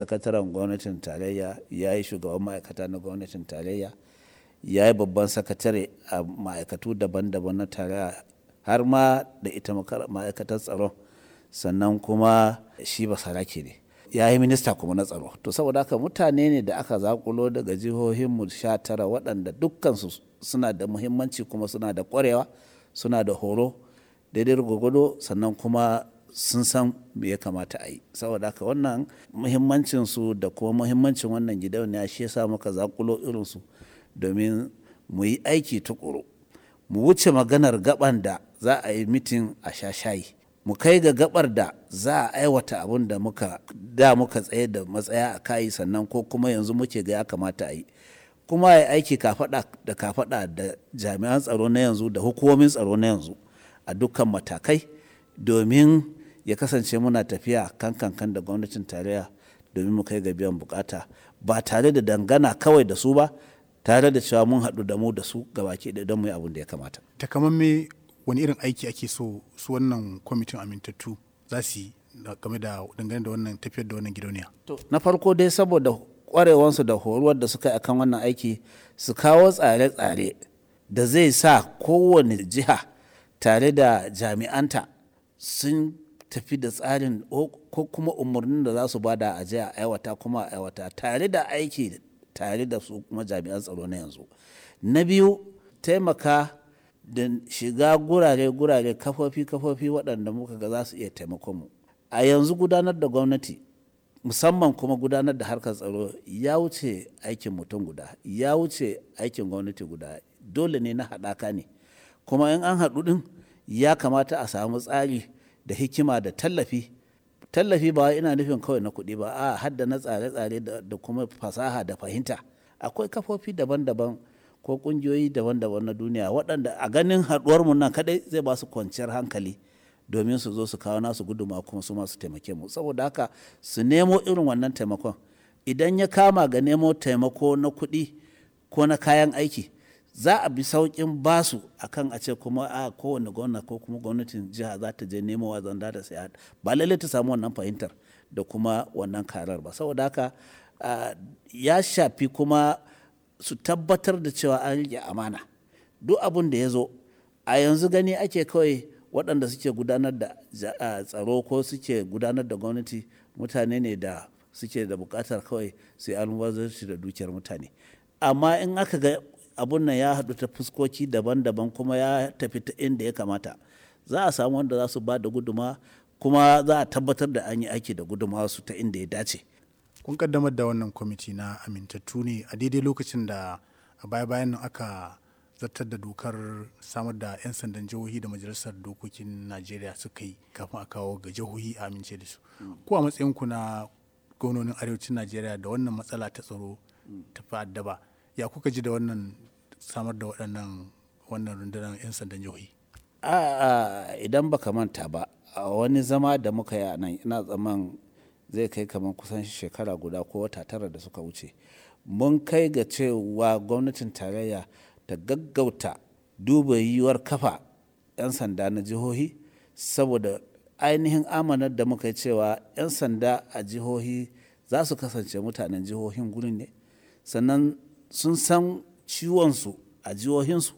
Sakataren gwamnatin tarayya, ya yi shugaban ma'aikata na gwamnatin tarayya, ya yi babban sakatare a ma'aikatu daban-daban na tarayya har ma da ita ma'aikatar tsaron. Sannan kuma shi basarake ne. Ya yi minista kuma na tsaro. To saboda haka mutane ne da aka zaƙulo daga jihohinmu 19 waɗanda dukkansu suna da muhimmanci kuma suna da ƙwarewa, suna da horo daidai gwargwado sannan kuma sun san me ya kamata a yi. Saboda haka wannan muhimmancinsu da kuma muhimmancin wannan gidauniya shi ya sa muka zaƙulo irinsu domin mu yi aiki tuƙuru. Mu wuce maganar gaɓan da za a yi mitin a sha shayi. Mu kai ga gaɓar da za a aiwata abun da muka da muka tsaye da matsaya a kai sannan ko kuma yanzu muke ga ya kamata a yi. Kuma a yi aiki kafaɗa da kafaɗa da jami'an tsaro na yanzu da hukumomin tsaro na yanzu a dukkan matakai domin ya kasance muna tafiya kan kankan da gwamnatin tarayya domin mu kai ga biyan bukata ba tare da dangana kawai da su ba tare da cewa mun haɗu da mu da su gabaki ɗaya don mu yi abun da ya kamata. Takamamme wani irin aiki ake so su wannan kwamitin amintattu za su yi game da dangane da wannan tafiyar da wannan gidauniya? To na farko dai saboda ƙwarewansu da horuwar da suka yi akan wannan aiki su kawo tsare-tsare da zai sa kowane jiha tare da jami'anta sun tafi da tsarin ko kuma umarnin da za su bada a je a aiwata kuma a aiwata tare da aiki tare da su kuma jami'an tsaro na yanzu. Na biyu taimaka da shiga gurare-gurare kafofi-kafofi waɗanda muka ga za su iya taimakon mu. A yanzu gudanar da gwamnati musamman kuma gudanar da harkar tsaro ya wuce aikin mutum guda, ya wuce aikin gwamnati guda. Dole ne na haɗaka ne. Kuma in an haɗu ɗin ya kamata a samu tsari da hikima da tallafi. Tallafi ba ina nufin kawai na kuɗi ba, a'a har da na tsare-tsare da kuma fasaha da fahimta. Akwai kafofi daban-daban ko ƙungiyoyi daban-daban na duniya waɗanda a ganin haɗuwar mu nan kaɗai zai ba su kwanciyar hankali domin su zo su kawo nasu gudummawa kuma su ma su taimake mu. Saboda haka su nemo irin wannan taimakon. Idan ya kama ga nemo taimako na kuɗi ko na kayan aiki za a bi sauƙin basu akan a ce kuma a kowane gwamna ko kuma gwamnatin jiha za ta je nemowa zanda ta saya. Ba lallai ta samu wannan fahimtar da kuma wannan karar ba. Saboda haka ya shafi kuma su tabbatar da cewa an riƙe amana. Duk abun da ya zo a yanzu gani ake kawai waɗanda suke gudanar da tsaro ko suke gudanar da gwamnati mutane ne da suke da buƙatar kawai su yi almubazzaranci da dukiyar mutane. Amma in aka ga abun nan ya haɗu ta fuskoki daban-daban kuma ya tafi ta inda ya kamata, za a samu wanda za su ba da gudummawa kuma za a tabbatar da an yi aiki da gudummawarsu ta inda ya dace. Kun kaddamar da wannan kwamiti na amintattu ne a daidai lokacin da a baya-bayan nan aka zartar da dokar samar da 'yan sandan jihohi da majalisar dokokin Najeriya suka yi kafin a kawo ga jihohi a amince da su. Ku a matsayinku na gwamnonin arewacin Najeriya da wannan matsala ta tsaro ta fi addaba, ya kuka ji da wannan samar da waɗannan wannan rundunar 'yan sandan jihohi? A'a idan ba ka manta ba a wani zama da muka yi a nan ina tsammanin zai kai kamar kusan shekara guda ko wata tara da suka wuce. Mun kai ga cewa gwamnatin tarayya ta gaggauta duba yiwuwar kafa 'yan sanda na jihohi saboda ainihin amanar da muka yi cewa 'yan sanda a jihohi za su kasance mutanen jihohin gurin ne. Sannan sun san ciwonsu a jihohinsu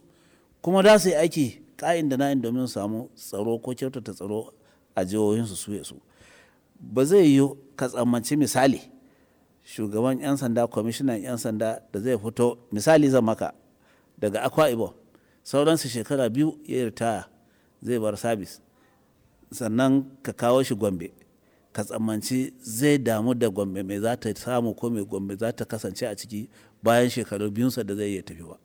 kuma za su yi aiki ka'in da na'in domin su samu tsaro ko kyautata tsaro a jihohinsu su ya su. Ba zai yiwu ka tsammanci misali shugaban 'yan sanda, kwamishinan 'yan sanda da zai fito misali zan maka daga Akwa Ibom sauransu shekara biyu ya yi ritaya zai bar sabis. Sannan ka kawo shi Gombe ka tsammanci zai damu da Gombe me za ta samu ko me Gombe za ta kasance a ciki bayan shekaru biyunsa da zai iya tafi ba.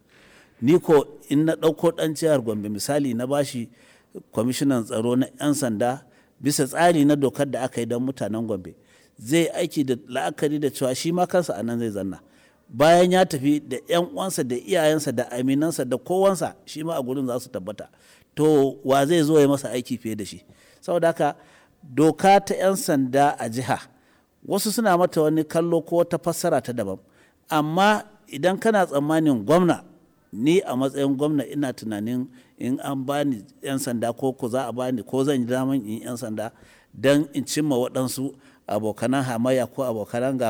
Ni ko in na ɗauko ɗan jihar Gombe misali na bashi kwamishinan tsaro na 'yan sanda bisa tsari na dokar da aka yi don mutanen Gombe zai aiki da la'akari da cewa shi ma kansa a nan zai zanna. Bayan ya tafi da 'yan uwansa da iyayensa da aminansa da kowansa shi ma a gurin za su tabbata. To wa zai zo ya masa aiki fiye da shi? Saboda haka doka ta 'yan sanda a jiha wasu suna mata wani kallo ko wata fassara ta daban. Amma idan kana tsammanin gwamna, ni a matsayin gwamna ina tunanin in an ba ni 'yan sanda ko ko za a ba ni ko zan yi daman in 'yan sanda don in cimma waɗansu abokanan hamayya ko abokanan gaba.